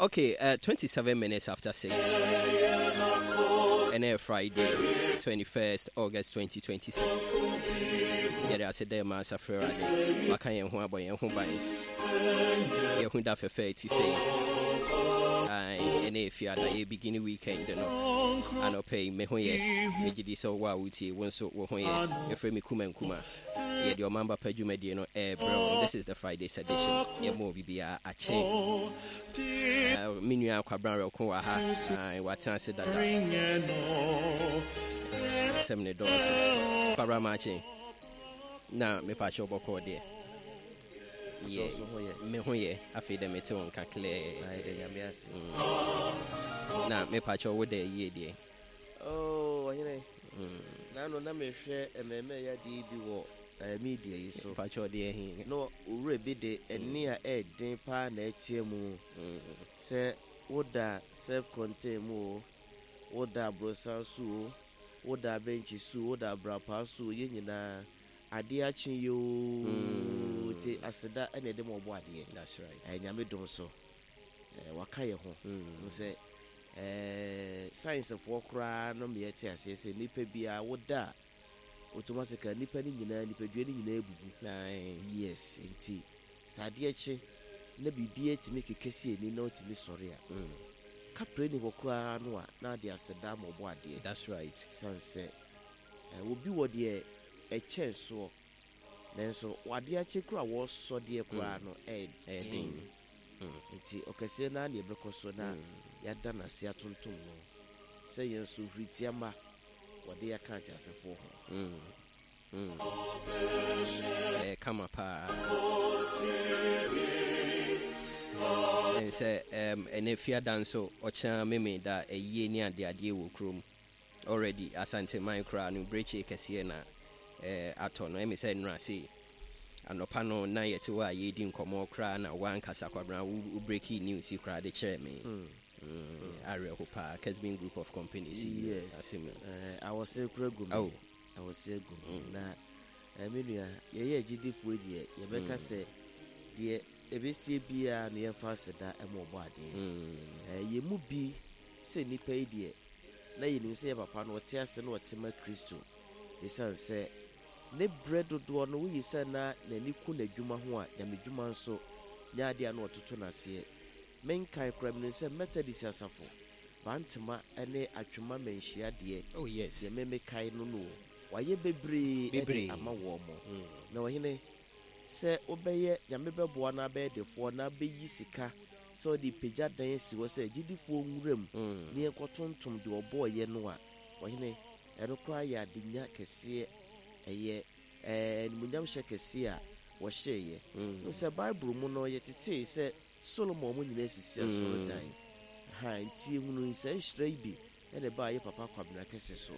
Okay, 27 minutes after 6. And Friday, 21st August 2026. Yɛde ase dɛ ma asafo Awurade waka yɛn ho abɔ yɛn ho ban. Yɛho da fɛfɛ ti sɛ ɛne efiada yɛ begin weekend no anɔpɛ yi me ho yɛ megye di sɛ wo a wotie wo nso wo ho yɛ ɛfrɛ me kuma nkuma Yɛde Ɔman Ba Pa dwumadie no ɛrebrɛ wo. This is the Friday's edition. Yɛma obi biara akye. Me nua Kwabena Werɛko wɔ ha. Watena ase dada. Asɛm ne dɔɔso. Kwabena Makye. Na mepakyɛ wobɔkɔɔ deɛ. Yɛ me ho yɛ afei dɛ mete wo nka clear. Na mepakyɛ wo dɛ yie deɛ. Oh, ɔhene. Naano na mehwɛ mmɛɛmɛɛ yadeɛ bi wɔ media yi so. Mpakyɛ ɔdeɛ he? Na owura bi de ɛnne a ɛɛden paa na ɛteɛ mu sɛ woda self contain mu o, woda aborosan so o, woda abɛnkyi so o, woda abrapaa so o, yɛn nyinaa adeɛ akye yoo nti aseda na ɛde ma ɔbɔ adeɛ. That's right. Nyame dom so. Waka yɛn ho. Sɛ sciencefoɔ koraa no ma yɛte aseɛ sɛ nipa biara woda a automatically nipa no nyinaa nipadua no nyinaa bubu. Yes, nti sɛ adeɛ kye na biribiara tumi keka si ani na wotumi sɔre a, kaprɛ ni hɔ koraa no a na ade aseda ama ɔbɔ adeɛ. That's right. San sɛ obi wɔ deɛ ɛkyɛn soɔ nanso adeɛ akye koraa wɔsɔ deɛ koraa no ɛden. Enti ɔkɛseɛ no ara na yɛbɛkɔ so na yɛada no ase atontom no sɛ yɛn nso huritia mma wɔde yɛn aka ateasefoɔ ho. Ɛyɛ kama paa. Ɛne sɛ ɛnɛ fiada nso ɔkyena Memeda ayie ne adeadeɛ wɔ kurom. Already Asanteman koraa no brekye kɛseɛ na atɔ no. Ɛme sɛ nnora sei anɔpa no na yɛte hɔ a yɛredi nkɔmmɔ koraa na woankasa Kwabena wo breaki news yi koraa de kyerɛɛ me. Awerɛho paa Kesbin Group of Companies yi Yes, asɛm yi. Awɔse koraa gu me. Oh. Awɔse agu me. Na me nua, yɛyɛ agyidifoɔ deɛ, yɛbɛka sɛ deɛ ɛbɛsie biara no yɛmfa aseda ma Ɔbɔadeɛ. Yɛn mu bi sɛ nnipa yi deɛ, na yɛnim sɛ yɛn papa no ɔte ase na ɔte ma Kristo. Esiane sɛ ne berɛ dodoɔ no woyi sɛ na n'ani ku n'adwuma ho a, nyamedwuma nso nyɛ adeɛ a na ɔtoto no aseɛ. Menkae koraa, menim sɛ Methodist asafo, Bantema ne Atwema manhyia deɛ, Oh, yes. deɛ me mekae no no o, wayɛ bebree de Bebree. ama wɔn. Na ɔhene, sɛ wobɛyɛ, Nyame bɛboa na abɛyɛ defoɔ na abɛyi sika sɛ ɔde repagya dan asi hɔ sɛ agyidifoɔ nwura mu na yɛnkɔtontom deɛ ɔbɔeɛ no a, ɔhene, ɛno koraa yɛ adenya kɛseɛ, ɛyɛ animuonyamhyɛ kɛseɛ a wɔhyɛeɛ. Wohu sɛ Bible mu no, yɛtetee sɛ Solomon mo nyinaa sisi asɔredan. Aha, nti yɛhunu saa nhyira yi bi na ɛbaa yɛ papa Kwabena Kɛse so.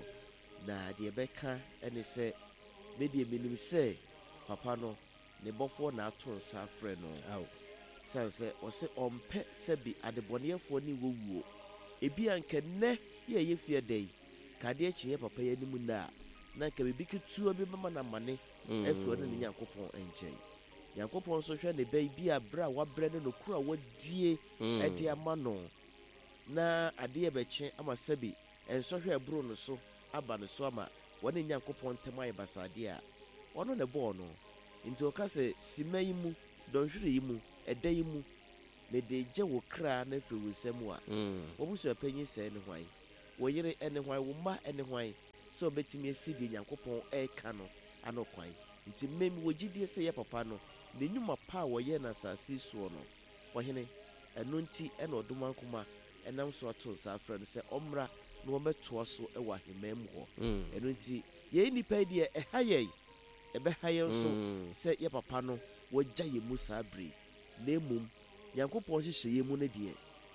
Na deɛ ɛbɛka ne sɛ, me deɛ menim sɛ papa no, ne bɔfoɔ na ato nsa afrɛ no. Esiane sɛ ɔse ɔmpɛ sɛbe adebɔneyɛfoɔ ne wɔ wuo. Ebia anka nnɛ yi a ɛyɛ fiada yi, ka adeɛ kye yɛn papa yi anim nnɛ a, na anka biribi ketewa bi bɛma no amane afiri ɔne ne Nyankopɔn nkyɛn. Nyankopɔn nso hwɛ ne ba yi bi a berɛ a wabrɛ ne nokorɛ a wadie de ama no, na adeɛ rebɛkye ama sɛbe nsɔhwɛ a ɛboro no so aba ne so ama wɔne Nyankopɔn ntam ayɛ basaa deɛ a, ɔno na ɛbɔɔ no. Enti ɔka sɛ, Simma yi mu, dɔnhwere yi mu, ɛda yi mu, mede regye wo kra no afiri wo nsa mu a, w'abusuapanyin sɛɛ ne hwan? Wo yere ne hwan? Wo mma ne hwan? Sɛ wɔbɛtumi asi deɛ Nyankopɔn reka no ano kwan. Enti me, mewɔ gyidie sɛ yɛ papa no, ne nnwuma pa a wɔyɛɛ no asase yi soɔ no, Ɔhene, ɛno nti na Ɔdomankoma nam so ato nsa afrɛ no sɛ ɔmmra na wɔmmɛtoa so wɔ ahemman mu hɔ. Ɛno nti, yɛn nnipa yi deɛ, ɛha yɛn, ɛbɛha yɛn nso sɛ yɛ papa no wagya yɛn mu saa berɛ yi, na mmom Nyankopɔn nhyehyɛeɛ mu no deɛ,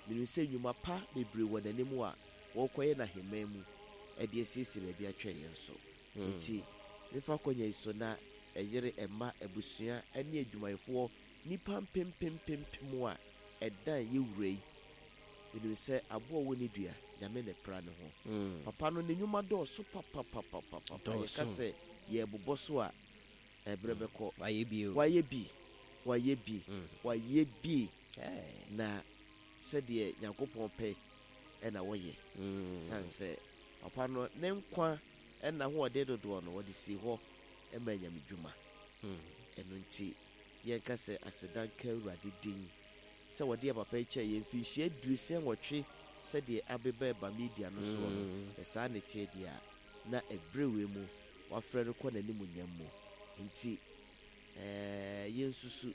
menim sɛ nnwuma pa bebree wɔ n'anim a wɔrekɔyɛ no ahemman mu de asiesie baabi atwɛn yɛn nso. Enti, memfa akwannya yi so na ɛyere, mma, abusua ne adwumayɛfoɔ nnipa mpempempempem a ɛdan yɛ wura yi. Menim sɛ aboa a ɔwɔ ne dua, Nyame na ɛpra ne ho. Papa no, ne nnwuma dɔɔso papapapapapa. Yɛka sɛ yɛrebobɔ so a, ɛberɛ bɛkɔ. Wayɛ bi o. Wayɛ bi, wayɛ bi, wayɛ bi. Na. Sɛdeɛ Nyankopɔn pɛ na wɔyɛ. Sane sɛ papa no ne nkwa nna ahoɔden dodoɔ no wɔde sii hɔ maa nyamedwuma. Ɛno nti yɛnka sɛ aseda nka Awurade din sɛ wɔde yɛn papa yi kyɛɛ yɛn mfinhyia 68 sɛdeɛ abeba ɛba media no soɔ no, sɛ saa na ɛteɛ deɛ a, na ɛberɛ wei mu wafrɛ no kɔ n'animuonyam mu. Nti ɛɛ yɛnsusu,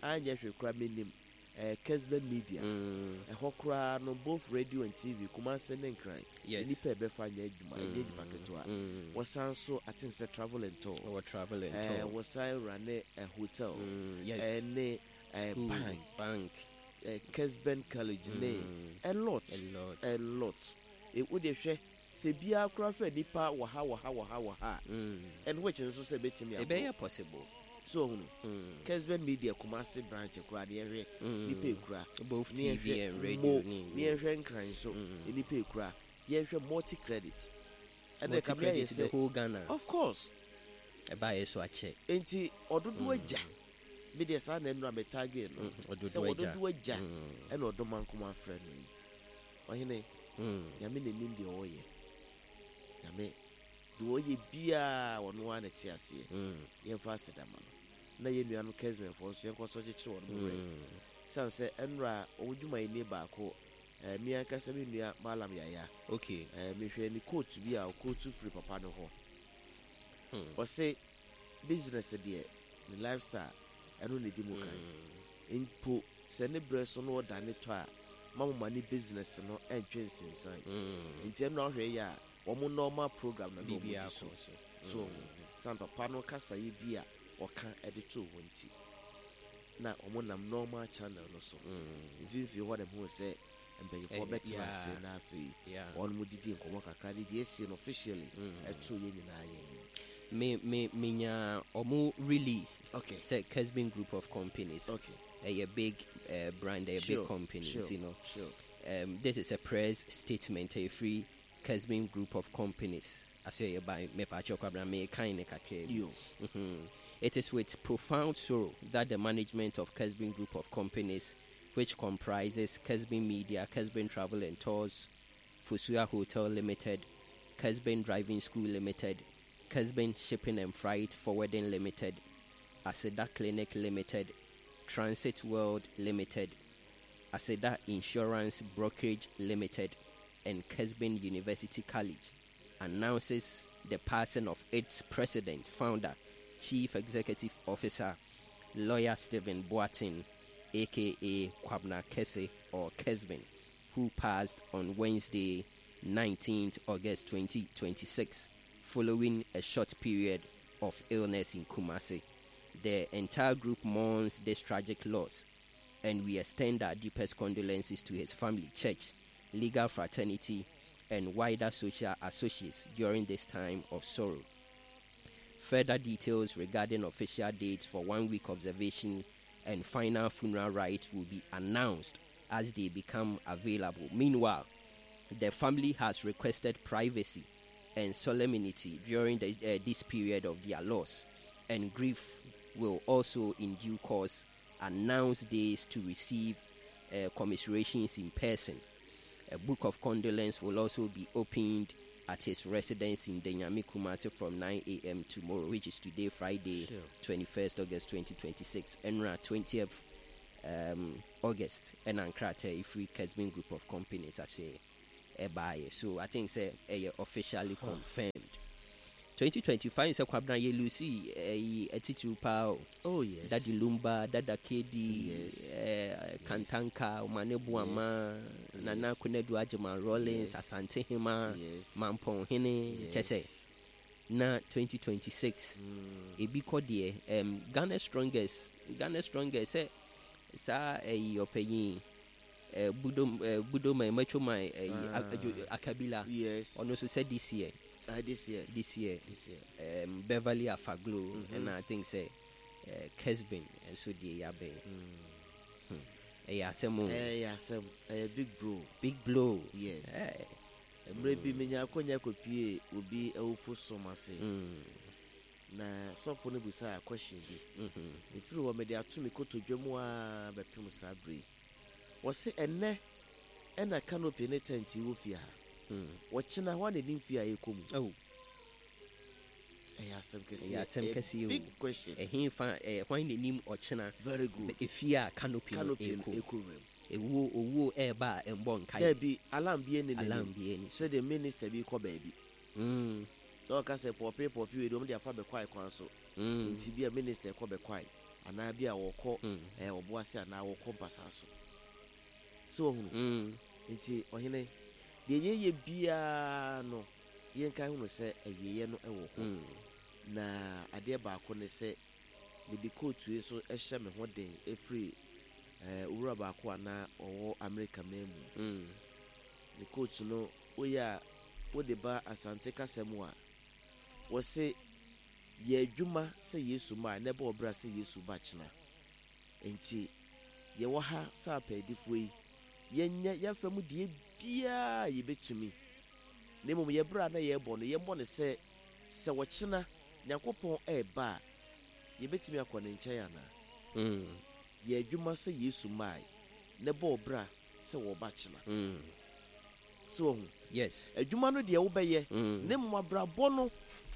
anyɛ hwee koraa mennim ɛɛ Kesben Media, ɛhɔ koraa no both radio and TV, Kumasi ne Nkran, Yes. nnipa a ɛbɛfa nyɛ adwuma, ɛnyɛ nnipa ketewa. Wɔsan nso I think sɛ travel and tour. Wɔwɔ travel and Ɛɛ tour. wɔsan rane ɛ hotel, Yes. ɛne ɛ School, bank, bank. ɛ Kesben College ne a lot, A lot. a lot. E wo deɛ hwɛ sɛ biara koraa fɛ nipa wɔ ha wɔ ha wɔ ha wɔ ha a, and which nso sɛ ɛbɛtumi aboro. Ɛbɛyɛ possible. So ohunu Kesben Media Kumasi branch koraa ne yɛhwɛ nipa ekura. Both Ne TV yɛhwɛ and radio mo ne ne yɛhwɛ Nkran so nipa ekura. Yɛhwɛ multi credit. Ɛna Multi ɛka mi ayɛ credit the sɛ whole Ghana. of course Ɛbaayɛ so akyɛ. Nti ɔdodo agya bi deɛ saa na ɛnura mɛ target no Ɔdodo sɛ agya. ɔdodo agya ɛna ɔdɔma nkoma afrɛ no yi ɔhene. Nyame n'anim deɛ ɔyɛ, Nyame deɛ ɔyɛ biara ɔno ara na ɛte aseɛ. Yɛmfa aseda ma no na yɛn nuanom Kesbenfoɔ nso yɛnkɔ so kyekyere wɔn werɛ siane sɛ ɛnura wɔn dwumayɛni baako mi ankasa me nua Malam Yaya mehwɛ ne quote bi a ɔquote firi papa no hɔ. Ɔse business deɛ ne lifestyle ɛno na ɛdi mu kan mpo sɛ ne berɛ so no ɔda ne tɔ a ma mo ma ne business no ɛntwe nsensan. Nti ɛno ahwɛ yɛ a wɔn normal program na na wɔn Biribiara di so kɔ so. So san papa no kasa yi bi a ɔka ɛde to wɔn ti na wɔn nam normal channel no so mfimfini hɔ na mo sɛ mpanyinfoɔ bɛtena ase na afei wɔn mo didi nkɔmɔ kakra de deɛ esi no officially ɛto yɛn nyinaa yɛn nim. Me menya ɔmo release sɛ Kesben Group of Companies. Ɛyɛ big brand, ɛyɛ big company. Nti no. This is a press statement a free Kesben Group of Companies. Ase by mepa kyɛw me kind kakra bi. Yo. It is with profound sorrow that the management of Kesben Group of Companies, which comprises Kesben Media, Kesben Travel and Tours, Fosua Hotel Limited, Kesben Driving School Limited, Kesben Shipping and Freight Forwarding Limited, Aseda Clinic Limited, Transit World Limited, Aseda Insurance Brokerage Limited, and Kesben University College, announces the passing of its president, founder, chief executive officer, lawyer Stephen Boateng, aka Kwabena Kese or Kesben, who passed on Wednesday, 19th August 2026, following a short period of illness in Kumasi. The entire group mourns this tragic loss, and we extend our deepest condolences to his family, church, legal fraternity, and wider social associates during this time of sorrow. Further details regarding official dates for 1 week observation and final funeral rites will be announced as they become available. Meanwhile, the family has requested privacy and solemnity during this period of their loss, and grief will also, in due course, announce days to receive commiserations in person. A book of condolence will also be opened at his residence in Denyami, Kumasi from 9 a.m. tomorrow, which is today, Friday, 21st August 2026. Enra 20th August, ɛna nkrataa ifiri Kesben Group of Companies ase ɛbaayɛ. So I think sɛ ɛyɛ officially confirmed. 2025 sɛ Kwabena yɛ lose ɛyi atitiriw paa o. Oh yes. Daddy Lumba, Dada KD, Kantanka, Omane Boama, Nana Konadu Agyeman Rawlings, Asante Hema, Mampɔn Hene, kyɛ sɛ na 2026 ebi kɔ deɛ Ghana strongest sɛ saa ɛyi ɔpanyin Budo man, Macho man, ɛyi Akabila. Ɔno nso sɛ this year. This year. This year. This year. Beverly Afaglo ɛna I think sɛ Kesben nso deɛ yabɛn. Ɛyɛ asɛm o. Ɛyɛ asɛm. Ɛyɛ big bro. Big blow. Yes. Eh. Mmerɛ bi menya akɔnya kɔpie obi awufo som ase. Na sɔfo no bisa question bi. Ɛfiri hɔ mede ato me kotodwe mu a bɛpem saa bere yi. Wɔse ɛnnɛ ɛna canopy ne tent yi wɔ fie ha. Ɔkyena hwan na ɛnim fie a yɛkɔ mu? Oh. Ɛyɛ asɛm kɛseɛ. Ɛyɛ asɛm kɛseɛ o. Big question. Ɛhe fa ɛ hwan na ɛnim ɔkyena? Very good. Efie a canopy no Canopy no ɛkɔ mu. ɛkɔ wuram. Ewuo owuo ɛɛba a ɛmbɔ nkaeɛ. Daabi, alarm biara nni n'anim. Alarm biara nni so. Sɛdeɛ minister bi kɔ baabi. Na ɔka sɛ pɔɔpee pɔɔpee wei deɛ wɔde afa bɛkwae kwan so. Nti bi a minister kɔ bɛkwae anaa bi a wɔkɔ ɛɛ ɔboase anaa wɔkɔ mpasaa so. So wahunu? Nti ɔhene, deɛ yɛyɛ biara no yɛnkae hunu sɛ awieɛ no wɔ hɔ. Na adeɛ baako ne sɛ mede kootu yi nso hyɛ me ho den ɛfiri ɛɛ owura baako a na ɔwɔ Amerika man mu. Ne kootu no woyɛ a wode ba Asante kasa mu a, wɔse yɛ adwuma sɛ Yesu ma a, na ɛbɔ wo bra sɛ Yesu ba kyena. Enti yɛwɔ ha sɛ apaadifoɔ yi, yɛnyɛ yɛn fa mu deɛ biara a yɛbɛtumi, na mmom yɛn bra a na yɛrebɔ no, yɛmmɔ no sɛ, sɛ ɔkyena Nyankopɔn reba a, yɛbɛtumi akɔ ne nkyɛn anaa? Yɛ adwuma sɛ Yesu mae, na bɔ wo bra sɛ wɔba kyena. So wahu? Yes. Adwuma no deɛ wobɛyɛ, na mmom abrabɔ no,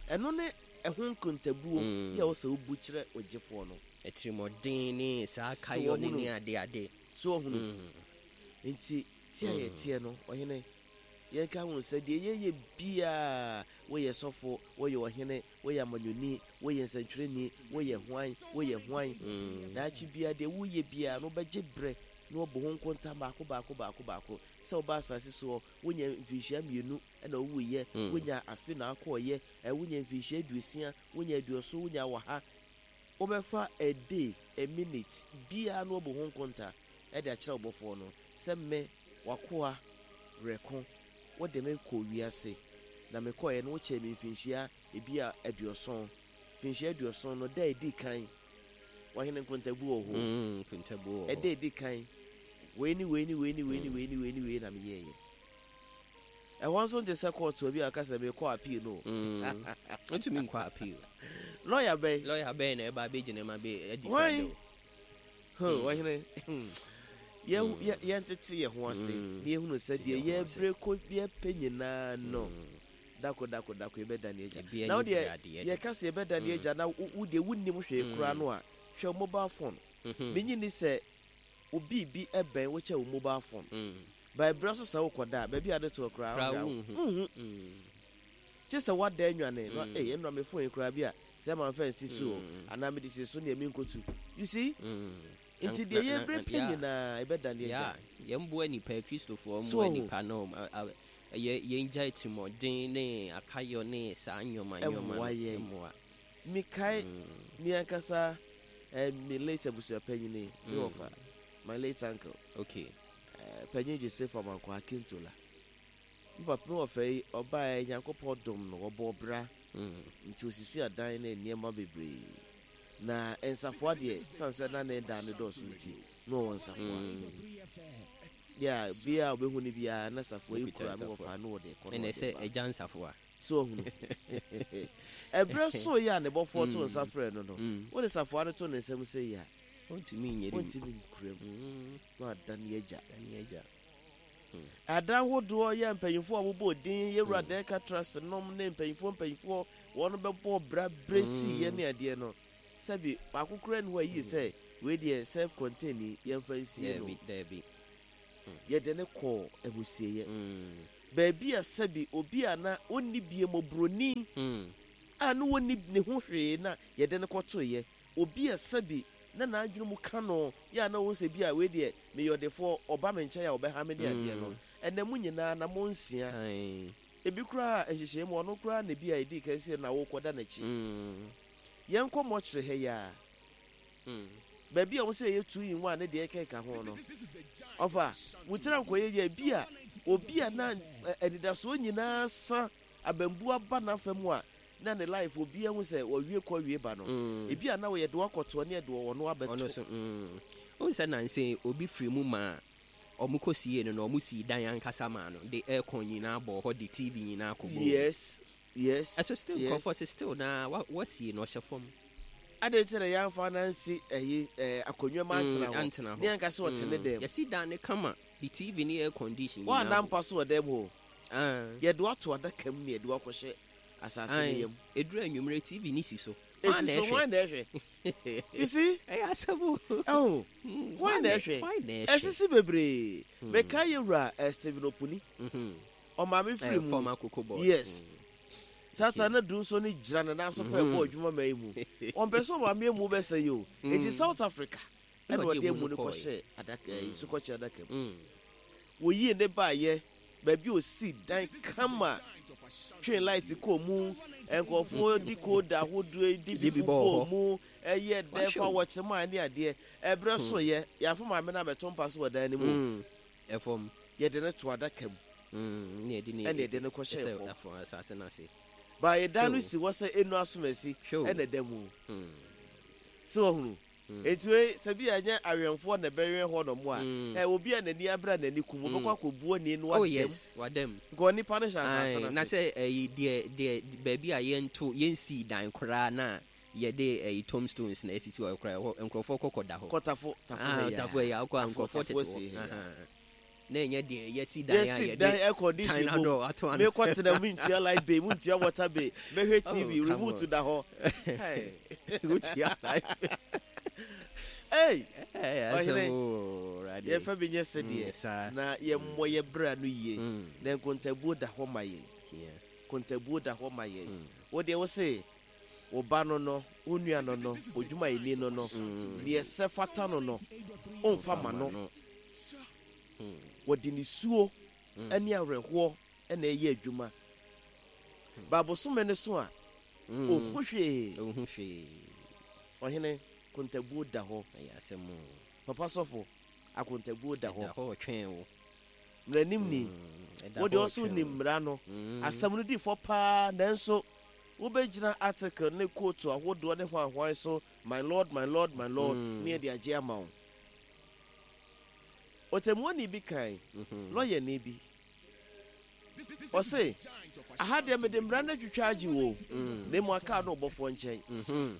ɛno ne ɛho nkontabuo yɛ ɛwɔ sɛ wobu kyerɛ ogyefoɔ no. Atirimuɔden ne saa So kayɔ ne wahunu? ne ade ade. So wahunu? Nti te a yɛteɛ no, ɔhene, yɛnka ho sɛ deɛ yɛyɛ biara, woyɛ sɔfo, woyɛ ɔhene, woyɛ amanyɔni, woyɛ nsɛntwerɛni, woyɛ hwan, woyɛ hwan, daakye biara deɛ woyɛ biara no wobɛgye berɛ na wɔbɔ ho nkonta baako baako baako baako. Sɛ wobaa asase soɔ, wonya mfirinhyia mmienu na wowuiɛ, wonya afe na akɔeɛ, wonya mfirinhyia aduosia, wonya aduɔson, wonya ɔha. Wobɛfa a day, a minute biara na woabu ho nkonta de akyerɛ wo Bɔfoɔ no sɛ me, w'akoa, reko, wode me kɔɔ wiase, na mekɔeɛ no wokyɛɛ me mfirinhyia ebia aduɔson. Mfirinhyia aduɔson no, da a ɛdi kan, Ɔhene nkontabuo wɔ hɔ o. Nkontabuo wɔ hɔ. Ɛda a ɛdi kan, wei ne wei ne wei ne wei ne wei ne wei ne wei na meyɛeɛ. Ɛhɔ nso nte sɛ kɔɔto bi a ɔka sɛ mekɔ appeal no o. Ntumi nkɔ appeal. Lɔya bɛn? Lɔya bɛn na ɛba abɛgyina mu abɛ adi Hwan? Ho, ɔhene. Yɛn yɛntete yɛn ho ase na yɛhunu sɛ deɛ yɛbrɛ kɔ yɛpɛ nyinaa no. Dako dako dako yɛbɛda ne agya. Na wo deɛ yɛka sɛ yɛbɛda ne agya na wo deɛ wonnim hwee koraa no a, hwɛ wo mobile phone. Menye nni sɛ wo biribi bɛn wo kyɛ wo mobile phone. By berɛ so sɛ wokɔda a, baabi a wode toɔ koraa wonhu. Gye sɛ woada anwane na ei ɛnora me phone yi koraa bi a sɛ mamfa ansi so o anaa mede si so neɛ menkɔtu. You see? Nti deɛ yɛbrɛ pɛ nyinaa yɛbɛda ne agya. Yeah, yɛmboa nipa, Kristofoɔ mmoa nipa na yɛ yɛngyae atirimuɔden ne akayɔ ne saa nneɛma nneɛma no Ɛmmoa yɛn. mmoa. Mekae me ankasa eh, me late abusuapanyini, me wɔfa, my late uncle. Okay. Eh, Panyin Joseph Amankwah Akintola. Me papa, me wɔfa yi, ɔbaeɛ Nyankopɔn dom no, ɔbɔɔ bra. Nti osisi adan ne nneɛma bebree. Na nsafoa deɛ, sane sɛ na ne dan no dɔɔso nti, na ɔwɔ nsafoa. Yeah, bia a ɔbɛhu no biara na safoa yi kura no wɔfa no wɔde kɔ na ɔde ba. Ɛna ɛgya nsafoa. So ɔhunu. Ɛberɛ so yɛ a ne bɔfoɔ to nsa frɛ no no, wode safoa no to ne nsam sɛ yi a, ɔntumi nyɛ mu. Ɔntumi nkura mu. Na ada ne agya. Ne agya. Adan hodoɔ yɛ mpanyinfoɔ a wɔbɔ din yɛwura Dɛka Trust nom ne mpanyinfoɔ mpanyinfoɔ wɔn bɛbɔ bra berɛ si yɛ ne adeɛ no. Sɛbi baako koraa nni hɔ a ɛyie sɛ wei deɛ self contained yi yɛmfa nsie no. Daabi, daabi. Yɛde no kɔɔ amusieeɛ. Baabi a sɛbi obi a na ɔnni bie mmɔborɔni a na ɔnni ne ho hwee na yɛde no kɔtoeɛ. Obi a sɛbi na n'adwene mu ka no yɛ a na ɔhu sɛ bi a wei deɛ meyɛ ɔdefoɔ ɔba me nkyɛn a ɔbɛha me ne adeɛ no. Ɛnnɛ mo nyinaa anammɔn nsia. Ebi koraa nhyehyɛeɛ mu ɔno koraa na bi a ɛdii kan sɛ na wokɔda n'akyi. Yɛnkɔ mɔkyere ha yi ara. Baabi a wɔsɛ yɛyɛ two in one ne deɛ ɛkeka ho no. Ɔfa, wo tiri ankɔyɛ yie a, ebi a obi a na anidasoɔ nyinaa sa abambu aba n'afa mu a na ne life obiara hu sɛ wɔwie kɔ wie ba no. Ebi a na wɔyɛ de wakɔtoɔ ne ɛde ɔno abɛto. Ɔno so, mm. Wohu sɛ nansa yi obi firi mu maa wɔkɔ siee no na wɔsii dan ankasa maa no de aircon nyinaa bɔɔ hɔ de TV nyinaa kɔbɔɔ mu. Yes. Yes Ɛso still yes. nkurɔfoɔ se still na wa wasie no ɔhyɛ fam. Adɛn nti na yɛamfa no ansi ɛyi ɛɛ akonnwa mu antena hɔ? Antena hɔ. Ne yɛnka sɛ ɔte ne dan mu. Yɛsi dan no kama de TV ne air condition nyinaa Woanna bom. mpa so wɔ dan mu hɔ o. Ah. Yɛde wo ato adaka mu na yɛde wo akɔhyɛ asase no Ae, yam. ɛduru anwummerɛ TV no si so. Hwan Ɛsi na so, ɛhwɛ? hwan na ɛhwɛ? You see? Ɛyɛ asɛm o. Ɛho, Hwan hwan na na ɛhwɛ? hwan na ɛhwɛ? Ɛsisi bebree. Mekae yɛn wura eh, Stephen Opuni. Ɔmaame firi Eh, mu. former Cocoa Board. Yes. Satan na du nso ne gyina ne nan so pɛ bɔ adwuma ma yi mu. Ɔmpɛ sɛ ɔmaame emu bɛsɛ yi o. Enti South Africa ɛna ɔde emu no kɔhyɛ adaka yi so kɔkyɛ adaka mu. Wɔyii ne baayɛ baabi a ɔsii dan kama twee light kɔɔ mu, nkurɔfoɔ di kooda ahodoɔ di bi bɔɔ mu, ɛyɛ dɛ fa wɔkye maa ne adeɛ. Ɛberɛ so yɛ, yɛamfa maame no abɛto mpa so wɔ dan no mu. Ɛfam. Yɛde no to adaka mu. Ɛna yɛde no Ɛna yɛde no kɔhyɛɛ fam. Ɛfam asase no ase. Ba yɛ dan no si hɔ sɛ enu asomasi ɛna ɛda mu. So wahunu? Enti wei sɛ bi a ɛnyɛ awɛnfoɔ na ɛbɛwɛn hɔ nom a, ɛ obi a n'ani abere a n'ani kum, wɔbɛkɔ akɔbu ani no Oh wadam. yes, wadam. Nka onipa no hyɛ asase no Ae, na ase. sɛ ɛyi deɛ deɛ baabi a yɛnto yɛnsii dan koraa na yɛde ɛyi tombstones na esisi hɔ koraa ɛhɔ nkurɔfoɔ kɔ kɔda hɔ. Kɔ tafo tafo Ah, ha yi tafo ɛyi akɔ a Tafo nkurɔfoɔ tafo tete hɔ. asie ha yi. Ahaa. Na ɛnyɛ deɛ yɛsi dan a Yɛsi yɛde dan air condition China bom. door ato ano. Mekɔ tena mu ntua light bill, mu ntua water bill, mɛhwɛ Oh, TV, come remote on. da hɔ. Hey. Wotua light bill. Hey! Hey, Ɔhene, asɛm o, Awurade. yɛmfa bi nyɛ sɛdeɛ Mm, saa. na yɛmmɔ yɛ bra no yie na nkontabuo da hɔ ma yɛn. Yeah. Nkontabuo da hɔ ma yɛn. Wo deɛ wo se wo ba no no, wo nua no no, odwumayɛni no no, deɛ ɛsɛ fata no no, womfa ma no. Wɔde nisuo ne awerɛhoɔ na ɛyɛ adwuma. Ba bosome no so a, ɔnhu hwee. Ɔnhu hwee. Ɔhene, kontabuo da hɔ. Ɛyɛ asɛm o. Papa sɔfo, akontabuo da hɔ. Ɛda hɔ ɔtwɛn wo. Mmaranim ni. Ɛda Wo hɔ deɛ ɔso ɔtwɛn nim wo. mmara no. Asɛm no di fɔ paa nanso wobɛgyina article ne kootu ahodoɔ ne hwanhwan so, my lord, my lord, my lord, ne yɛde agye ama wo. Ɔtɛmmuani bi kae, lɔyani bi, ɔse, Aha deɛ mede mmara no atwitwa agye wo o, na mmom aka wo ne wo bɔfoɔ nkyɛn.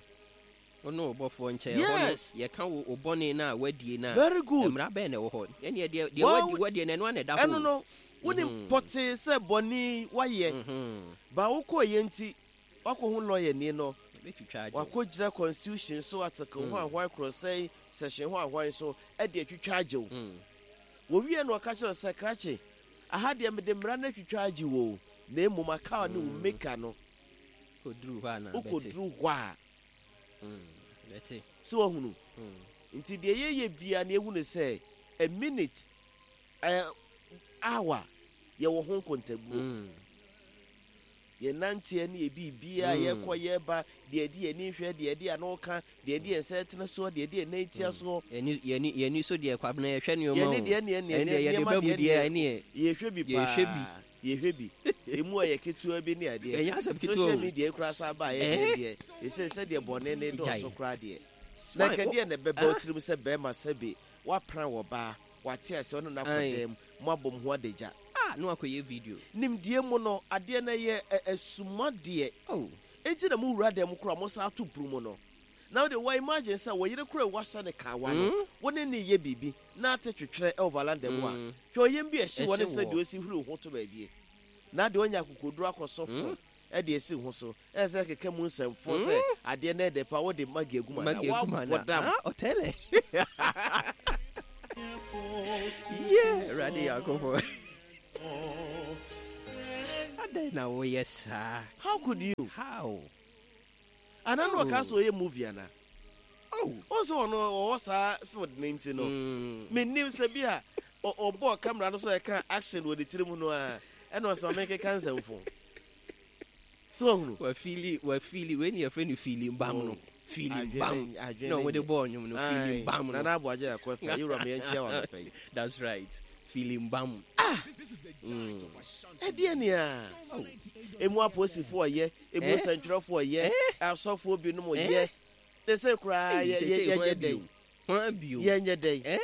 Wo ne wo bɔfoɔ nkyɛn. Ɛhɔ no, Yes! yɛka wo wo bɔne no a woadie no a, Very good. mmara bɛn na ɛwɔ hɔ? Ɛnneɛ deɛ, deɛ Well, woadi, woadie no, ɛno ara na ɛda hɔ ɛno o. no, wonim pɔtee sɛ bɔne yi woayɛ, ba wokɔeɛ nti, Woakɔhu lɔyani no, wakɔgyina constitution so article ho ahwan korɔsɛn section ho ahwan so de atwitwa agye wo. Wɔwie no ɔka kyerɛ wo sɛ krakye, aha deɛ mede mmara no atwitwa agye wo o, na mmom aka ne wo maker no. Wokɔduru hɔ a na bɛte. Wokɔduru hɔ a. Bɛte. So wahunu? Nti deɛ yɛyɛ biara no yɛhu no sɛ a minute, a hour, yɛwɔ ho nkontabuo. Yɛn nanteɛ ne yɛn biribiara, yɛkɔ, yɛba, deɛ yɛde yɛn ani hwɛ, deɛ yɛde ano ka, deɛ yɛde yɛn nsa tena soɔ, deɛ yɛde yɛn nan tia soɔ. Yɛn yɛn ani so deɛ Kwabena yɛhwɛ nneɛma Yɛn o. ani deɛ neɛ neɛ Ɛndeɛ yɛde nneɛma ba mu deɛ deɛ neɛ ɛneɛ yɛhwɛ bi yɛhwɛ bi. paa, yɛhwɛ bi. Emu a yɛ ketewa bi ne adeɛ. Ɛnyɛ asɛm ketewa Social o. media yi koraa san baa yɛ deɛ Eh? deɛ, ɛsɛ sɛdeɛ bɔne ne Gyae. dɔɔso koraa deɛ. Na Why? nka Wo- deɛ na ɛbɛba wo Ah? tirim sɛ bɛrima sɛbe woapran wɔ baa, wate aseɛ ɔne no akɔ Ae. dan mu, moabɔ mo ho adagya. Ah, na wakɔyɛ video. Nimdeɛ mu no, adeɛ no yɛ asumadeɛ. Oh. Enti na mo wura dan mu koraa mo san to pono mu no. Na wode wa imagine sɛ wo yere koraa a wahyɛ no kawa no, wo ne no reyɛ biribi na ate twetwerɛ wɔ valanda mu a, hwɛ ɔyam bi a ɛhye wɔ ne Ɛhye sɛdeɛ wɔ. ɔsi huri wo ho to baabie. Na deɛ ɔnya akokoduro akɔsɔ phone de asi wo ho so, ɛsɛ sɛ keka mu nsɛmfo sɛ adeɛ no ɛdɛ paa, wode Maggie agu mu anaa? Maggie agu mu Woabɔ anaa? dam. Ah, ɔtɛlɛ. Yeah, Awurade Nyankopɔn. Adɛn na woyɛ saa? How could you? How? Ana na ɔka sɛ ɔyɛ movie ana? Oh. Ɔn sɛ ɔno ɔwɔ saa field no nti no. Mennim sɛ bi a ɔbɔɔ camera no so ɛka action wɔ ne tiri mu no a ɛna ɔsɛ ɔme nkeka nsɛmfo. So wahunu? Wafili wafili wei ne yɛfrɛ no feeling bam no. Oh. Feeling bam. Na wɔde bɔɔ nnwom no feeling bam no. Nana Aboagye Acosta, yɛwura me yɛnkyia wɔ anɔpa yi. That's right. Feeling bam. Ah! Ɛdeɛ nea emu apolisifoɔ yɛ, emu Eh? nsɛntwerɛfoɔ yɛ, Eh? asɔfoɔ binom Eh? yɛ. Ne sɛ koraa Ei, yɛ- seesei yɛ- hwan yɛnyɛ bio? dɛn? Hwan bio? Yɛnyɛ dɛn? Eh?